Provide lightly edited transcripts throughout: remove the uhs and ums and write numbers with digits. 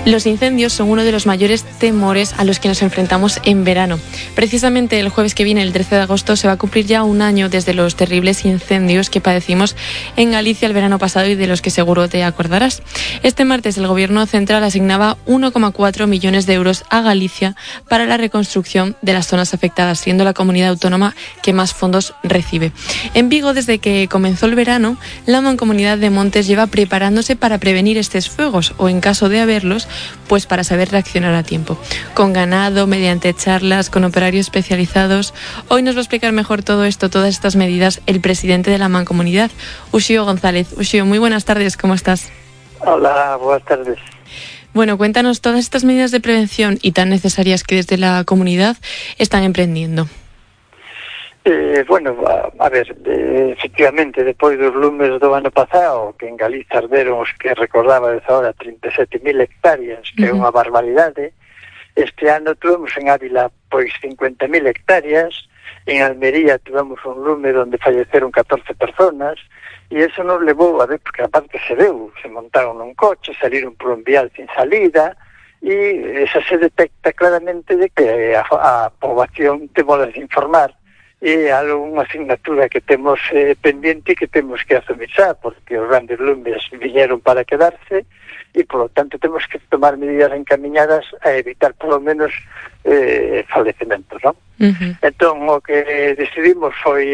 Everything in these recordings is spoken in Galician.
Los incendios son uno de los mayores temores a los que nos enfrentamos en verano. Precisamente el jueves que viene, el 13 de agosto, se va a cumplir ya un año desde los terribles incendios que padecimos en Galicia el verano pasado y de los que seguro te acordarás. Este martes el Gobierno central asignaba 1,4 millones de euros a Galicia para la reconstrucción de las zonas afectadas, siendo la comunidad autónoma que más fondos recibe. En Vigo, desde que comenzó el verano, la Mancomunidad de Montes lleva preparándose para prevenir estos fuegos o, en caso de haberlos, pues para saber reaccionar a tiempo. Con ganado, mediante charlas, con operarios especializados. Hoy nos va a explicar mejor todo esto, todas estas medidas, el presidente de la Mancomunidad, Uxío González. Uxío, muy buenas tardes, ¿cómo estás? Hola, buenas tardes. Bueno, cuéntanos todas estas medidas de prevención y tan necesarias que desde la comunidad están emprendiendo. A ver, efectivamente, depois dos lumes do ano pasado, que en Galicia arderon os que recordaba desde ahora 37.000 hectáreas, que é unha barbaridade, este ano tuvemos en Ávila pois 50.000 hectáreas, en Almería tuvemos un lume onde falleceron 14 personas, e eso nos levou a ver, porque aparte se veu, se montaron nun coche, saliron por un vial sin salida, e esa se detecta claramente de que a poboación temos de informar, e algunha asignatura que temos pendiente que temos que asumir xa, porque os grandes lumes viñeron para quedarse e, por lo tanto, temos que tomar medidas encaminhadas a evitar, por lo menos, falecementos, non? Entón, o que decidimos foi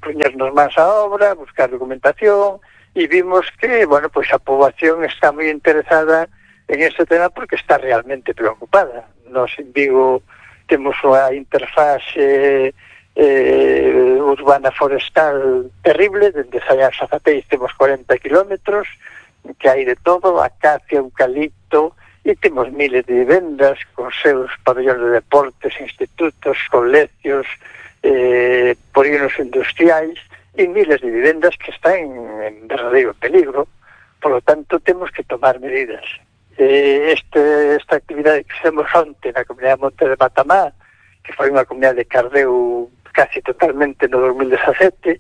poñernos máis á obra, buscar documentación, e vimos que, bueno, pois a poboación está moi interesada en ese tema porque está realmente preocupada. Nos en Vigo temos unha interfase urbana forestal terrible, dende Sallás a Zapeis temos 40 kilómetros, que hai de todo, acacia, eucalipto, e temos miles de vivendas con seus pabellóns de deportes, institutos, colegios, polígonos industriais, e miles de vivendas que están en verdadeiro peligro. Por lo tanto, temos que tomar medidas. Esta actividade que fizemos onte na comunidade de Monte de Matamá, que foi unha comunidade que ardeu casi totalmente no 2017,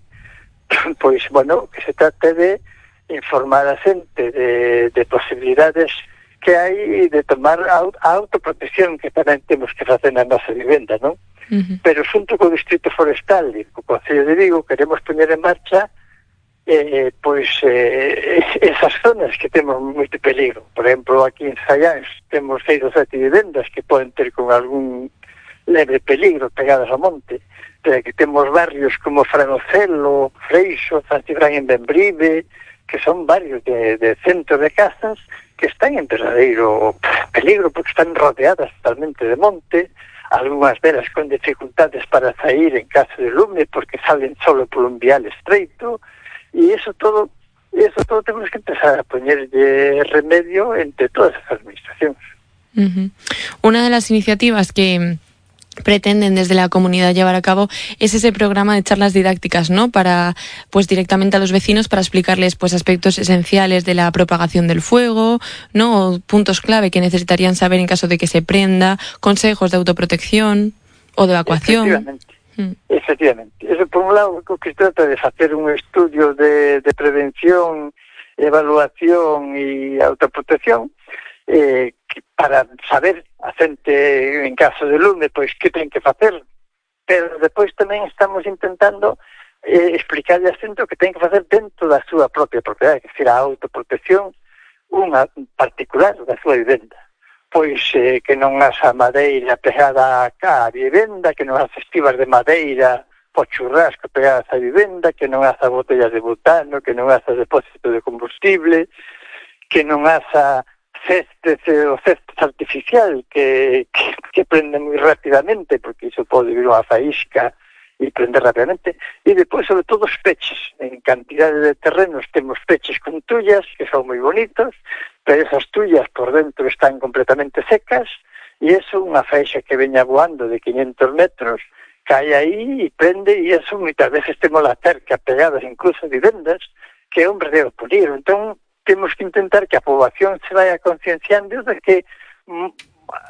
pois, bueno, que se trata de informar a xente de posibilidades que hai de tomar a autoprotección que tamén temos que facer na nosa vivenda, non? Pero xunto co Distrito Forestal e co Concello de Vigo queremos poñer en marcha esas zonas que temos moito peligro. Por exemplo, aquí en Sallás temos 6 ou 7 vivendas que poden ter con algún leve peligro pegadas ao monte, pero que temos barrios como Franocelo, Freixo, San Cibrán en Bembrive, que son barrios de centros de casas que están en verdadeiro peligro porque están rodeadas totalmente de monte, algunhas delas con dificultades para sair en caso de lume porque salen solo por un vial estreito, e eso todo temos que empezar a poñerlle remedio entre todas as administracións. Una de las iniciativas que pretenden desde la comunidad llevar a cabo es ese programa de charlas didácticas, ¿no? Para, pues, directamente a los vecinos para explicarles, pues, aspectos esenciales de la propagación del fuego, ¿no? O puntos clave que necesitarían saber en caso de que se prenda, consejos de autoprotección o de evacuación. Efectivamente. Eso, por un lado, o que se trata de facer un estudio de prevención, evaluación e autoprotección, para saber a xente en caso de lume pois que ten que facer, pero depois tamén estamos intentando explicarle a xente o que ten que facer dentro da súa propia propiedade, que será a autoprotección unha particular da súa vivenda, pois que non haxa madeira pegada á vivenda, que non haxa estivas de madeira o churrasco pegadas á vivenda, que non haxa botellas de butano, que non haxa depósito de combustible, que non haxa cestes artificial que prenden moi rapidamente, porque iso pode vir unha faísca e prender rapidamente, e depois, sobre todo, os peches. En cantidade de terrenos temos peches con tullas, que son moi bonitos, pero esas tullas por dentro están completamente secas, e eso, unha faixa que veña voando de 500 metros, cae aí e prende, e eso moitas veces temos la cerca pegadas incluso a vivendas, que é un verdadeiro peligro. Entón, temos que intentar que a poboación se vaya concienciando de que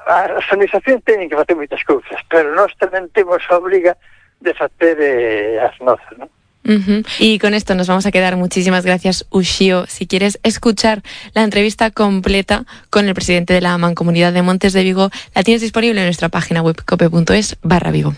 as organizacións teñen que facer moitas cousas, pero nós tamén temos a obriga de facer as nosas, non? Y con esto nos vamos a quedar. Muchísimas gracias, Uxío. Si quieres escuchar la entrevista completa con el presidente de la Mancomunidad de Montes de Vigo, la tienes disponible en nuestra página web cope.es/Vigo.